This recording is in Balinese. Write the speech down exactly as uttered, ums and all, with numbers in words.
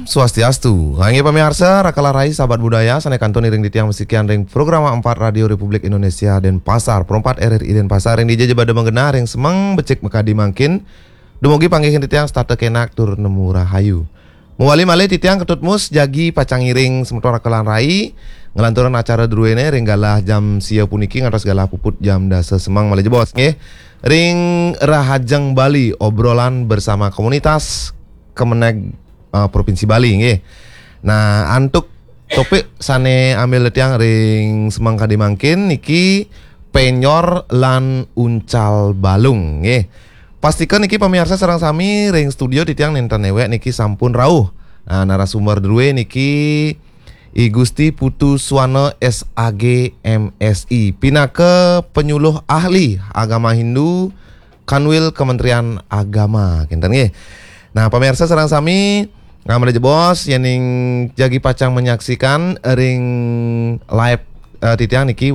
Swastiastu. Inggih pamiarsa, Raka lan Rai, sahabat budaya, sané kantun iring titiang masikian ring Programa empat Radio Republik Indonesia Denpasar, Pro empat R R I Denpasar, ring dija ja bada magenah, ring semeng becik makadi mangkin, dumugi panggihin titiang setata kenak tur nemu rahayu. Mawali malih titiang Ketut Mus jagi pacang ngiring semeton Raka lan Rai, nglanturang acara druéné ring galah jam sia puniki ngantos galah puput jam dasa semeng malih jebos, nggih. Ring Rahajeng Bali, obrolan bersama komunitas Kemenag, eh, Provinsi Bali, nggih. Nah, antuk topik sané ambil titiang ring semeng kadi mangkin niki penyor lan uncal balung, nggih. Pastika niki pamiarsa sareng sami ring studio titiang nénten néwék niki sampun rauh. Nah, narasumber drué niki I Gusti Putu Swana S A G M Si, pinaka penyuluh ahli agama Hindu Kanwil Kementerian Agama, kénten nggih. Nah, pamiarsa sareng sami, nah, malih jebos yéning jagi pacang menyaksikan ring live, eh, titiang niki